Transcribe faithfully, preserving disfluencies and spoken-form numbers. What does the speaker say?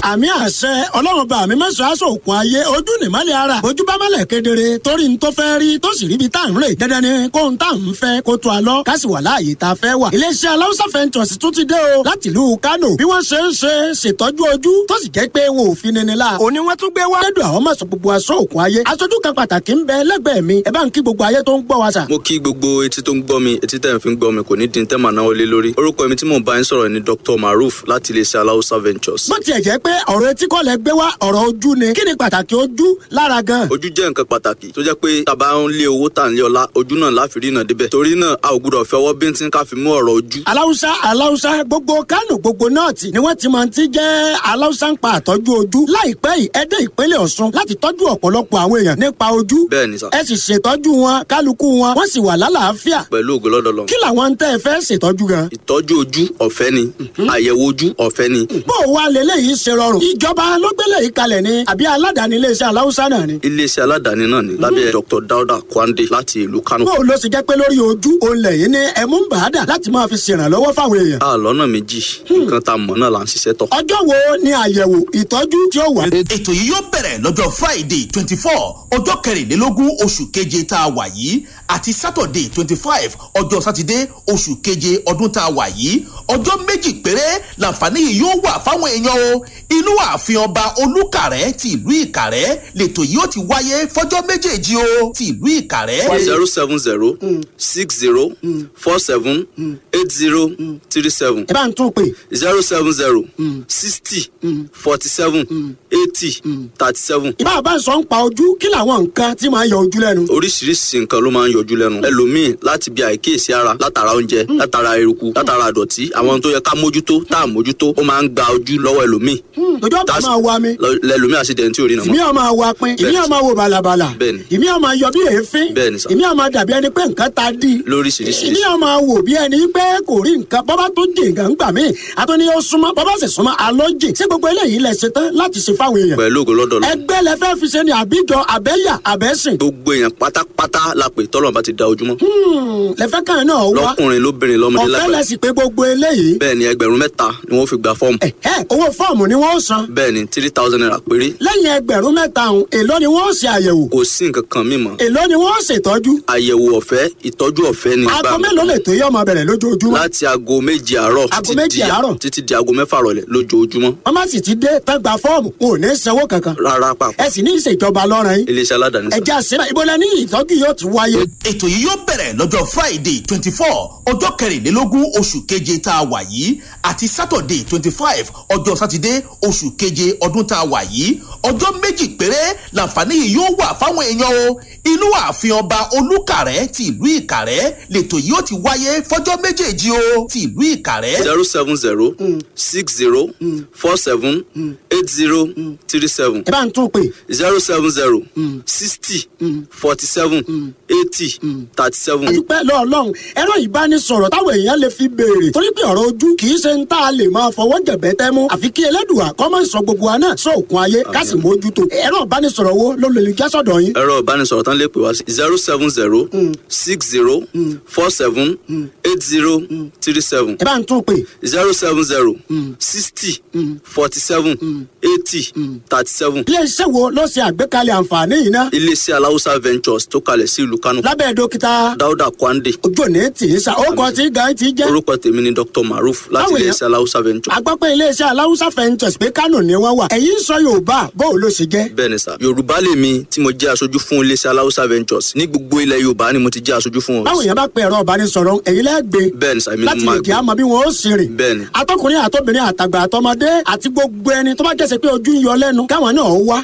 Àmì àṣẹ Ọlọ́run bá mi mẹ́sàn-án aṣọ òkun ayé ojú nìmọ́lẹ̀ ara ojú bá mọ́lẹ̀ kedere torí n tó fẹ́ rí tó sì ríbi tá à ń rè dandan ni kóhun tá à ń fẹ́ kó tó a lọ ká sì wà láàyè tá a fẹ́ wà. Iléeṣẹ́ Aláùsá Ventures tún ti dé o láti ìlú Kánò bí wọ́n ṣe ń ṣe ṣètọ́jú ojú tó sì jẹ́ pé wọn ò fi nini la. Òní wọ́n tún gbé wá. Lẹ́dùn àwọn mọ̀sán gbogbo aṣọ òkun ayé. Aṣojú kan pàtàkì ń bẹ lẹ́gbẹ̀ẹ́ mi. Ẹ bá ń kí gbogbo ayé tó ń gbọ́ wa sà. Mo kí gbogbo etí tó ń gbọ́ mi, etí tẹ̀ ń fi ń gbọ́ mi kò ní di tẹ́ màá náwó lé lórí. Orúkọ mi tí mò ń bá yín sọ̀rọ̀ ni Doctor Maruf láti iléeṣẹ́ Aláùsá Ventures. Bó tiẹ̀ jẹ́ pé ọ̀rọ̀ etí kọ́ lẹ gbé wá, ọ̀rọ̀ ojú ni. Kí ni pàtàkì ojú lára gan? Ojú jẹ́ nǹkan pàtàkì tó jẹ́ pé tàbá ń lé owó tà ń lé ọlá, ojú náà láfi rí náà débẹ̀. Torí náà a ò gbúdọ̀ fẹ́ ọwọ́ bíntín ká fi mú ọ̀rọ̀ ojú. Aláùsá Aláùsá gbogbo Kánò gbogbo nọ́ọ̀tì ni wọ́n ti máa ti jẹ́ Aláùsá ń pa àtọ́jú ojú. Láìpẹ́ yìí ẹ dé ìpínlẹ̀ Ọ̀ṣun láti tọ́jú ọ̀pọ̀lọpọ̀ àwọn èèyàn nípa ojú. Bẹ́ẹ̀ ni sà. Ẹ sì ṣètọ́jú wọn, kálukú wọn, wọ́n sì wà lálàáfíà. Pẹ̀lú ògo lọ́dọ̀ Ọlọ́run. Kí làwọn ń tẹ́ ẹ fẹ́ ṣètọ́jú gan? Ìtọ́jú ojú ọ̀fẹ́ ni, àyẹ̀wò ojú ọ̀fẹ́ ni. Bó o wá leléyìí ṣe rọrùn? Ìjọba ló gbélé yìí kalẹ̀ ni àbí aládàáni iléeṣẹ́ Aláùsá náà ni? Iléeṣẹ́ aládàáni náà ni lábẹ́ Doctor Dauda Kwande láti ìlú Kano. Bó o lọ sì jẹ́ pé lórí ojú òun lẹ̀yìn ní ẹ̀mú ń bàá dà láti máa fi ṣèrànlọ́wọ́ fáwọn èèyàn. A lọ́nà méjì, nǹkan tá a mọ̀ náà là ń ṣiṣẹ́ tọ̀. Ọjọ́ wo ni àyẹ̀wò ìtọ́jú tí ó wà? Ètò yìí yóò bẹ̀rẹ̀ lọ́jọ́ Friday twenty four ọjọ́ kẹrìnlélógún oṣù keje tá a wà yìí àti Saturday twenty five ọjọ́ sátidé oṣù keje ọdún tá a wà yìí. Ọjọ́ méjì péré làǹfààní yìí yóò wà fáwọn èèyàn o. Inú ààfin ọba Olúkàrẹ́ ti ìlú Ìkàrẹ́ lètò yìí ó ti wáyé fọjọ́ méjèèjì o ti ìlú Ìkàrẹ́. zero seven zero six zero four seven eight zero three seven. Ẹ bá ń tún pè. zero seven zero sixty forty seven eighty thirty seven. Ìbá bá ń sọ ń pa ojú, kí làwọn nǹkan tí máa ń yọ ojú lẹ́nu? Oríṣiríṣi nǹkan ló máa ń yọjú lẹ́nu. Ẹlòmíì láti bí àìkíyèsí ara, látara oúnjẹ, látara eruku, látara àdọ̀tí, àwọn tó yẹ ká mójútó tá à mójútó, ó máa ń gba ojú lọ́wọ́ ẹlòmíì. Ojú ọ̀pá máa wa mi. Lẹ́lòmíì àṣìdẹ̀ntì ò rí Ìmí nàmọ́. ọ̀ máa wa pin, ìmí ọ̀ máa wo bàlàbàlà, Bẹ́ẹ̀ni. ìmí ọ̀ máa yọ bí èéfín, Bẹ́ẹ̀ni sà. ìmí ọ̀ máa dàbí ẹni pé nǹkan ta dí. Lóríṣiríṣi. Ìmí ọ̀ máa wò bí ẹni pé kò rí nǹkan, bọ́bá tó jì nǹkan gbà mí, àtúní ó súnmọ́, bọ́bá sì súnmọ́, àlọ́ jì. Ṣé gbogbo eléyìí lẹ ṣe tán láti ṣe fáwọn èèyàn? Pẹ̀lú ògo lọ́dọ̀ Ọlọ́run. Ẹgbẹ́ lẹ fẹ́ fi ṣe ni àbíjọ àbẹ́yà àbẹ́sìn? Gbogbo èèyàn pátápátá la pè tọ́lọ̀ bá ti da ojúmọ́. Lẹ fẹ́ kàn náà wá. Lọ́kùnrin lóbìnrin lọ́mọdé Ọ̀fẹ́ lágbàá. lẹ sì pé gbogbo eléyìí? Bẹ́ẹ̀ni, ẹgbẹ̀rún mẹ́ta ni wọ́n fi gba fọ́ọ̀mù. Ẹ̀hẹ́, owó fọ́ọ̀mù ni wọ́n san? Bẹ́ẹ̀ni, three thousand naira péré. Lẹ́yìn ẹgbẹ̀rún mẹ́ta ọ̀hún, èló ni wọ́n ṣe àyẹ̀wò? Kò sí nǹkan kan mímọ́. Èló ni wọ́n ṣètọ́jú? Àyẹ̀wò ọ̀fẹ́, ìtọ́jú ọ̀fẹ́ ni. Aago mélòó lè tó yẹ ọmọ bẹ̀rẹ̀ lójoojúmọ́? Láti aago méje àárọ̀ Aago títí méje di- àárọ̀. títí di aago mẹ́fà rọ̀lẹ́ lójoojúmọ́. Wọ́n má sì ti dé tán gba fọ́ọ̀mù, wọn ò ní sanwó kankan? Rárá pàpà. Ẹ sì ní ìṣèjọba lọ́rùn yín. Iléeṣẹ́ aládàáni sà. Ẹ̀jẹ̀ àṣírà ìbọlẹ̀ ní ìtọ́jú yóò ti wáyé? Ètò yìí yóò bẹ̀rẹ̀ lọ́jọ́ Friday twenty four ọjọ́ kẹrìnlélógún oṣù keje tá a wà yìí àti Saturday twenty five ọjọ́ sátidé oṣù keje ọdún tá a wà yìí. Ọjọ́ méjì péré làǹfààní yìí yóò wà fáwọn èèyàn o. Inú ààfin ọba Olúkàrẹ́ ti ìlú Ìkàrẹ́ lètò yìí ó ti wáyé fọjọ́ méjèèjì o ti ìlú Ìkàrẹ́. zero seven zero six zero four seven eight zero three seven. Ẹ bá ń tún pè. zero seven zero sixty forty seven eighty thirty seven. Adúpẹ́ lọ́ọ̀lọ́run. Ẹ̀rọ ìbánisọ̀rọ̀ táwọn èèyàn lè fi béèrè torí pé ọ̀rọ̀ ojú kì í ṣe ń tá a lè máa fọwọ́ jẹ̀bẹ́ tẹ́ mú, àfi kí Ẹlẹ́dùà kọ́ máa ń sọ gbogbo wa náà sóòkun ayé ká sì mójútó. Ẹ̀rọ ìbánisọ̀rọ̀ wo ló lè já sọ̀dọ̀ yín? Ẹ̀rọ ìbánisọ̀rọ̀ tán lè pè wá sí zero seven zero six zero four seven eight zero three seven. Ẹ bá ń tún pè. zero seven zero sixty forty seven eighty thirty seven. Iléeṣẹ́ wo ló ṣe àgbékalẹ̀ àǹfààní yìí ná? Iléeṣẹ́ Aláùsá Ventures tó kalẹ̀ sí ìlú Kánò. Lábẹ́ dókítà Dáúdà Kwande. Ojú òní tì í sa ó kọ tí gan ti jẹ́. Orúkọ tèmi ni Doctor Maruf láti Báwo iléeṣẹ́ Aláùsá Ventures. A gbọ́ pé iléeṣẹ́ Aláùsá Ventures pé Kánò ni wọ́n wà, ẹ̀yin ń sọ Yorùbá, bó o ló ṣe jẹ́? Bẹ́ẹ̀ ni sà, Yorùbá lèmi tí mo jẹ́ aṣojú fún iléeṣẹ́ Aláùsá Ventures. Ní gbogbo ilẹ̀ Yorùbá ni mo ti jẹ́ aṣojú fún wọn. Báwo yẹn bá pe ẹ̀rọ ìbánisọ̀rọ̀ ẹ̀yin lẹ́gbẹ̀ẹ́ Bẹ́ẹ̀ ni sà, èmi ni láti mo lè máa jẹ́ àmọ́ bí wọ́n ó sì rìn? Bẹ́ẹ̀ ni. Atọ́kùnrin àtọ́bìnrin àtàgbà àtọmọdé àti gbogbo ẹni tó bá jẹ́sẹ̀ pé ojú ń yọ lẹ́nu káwọn náà wá.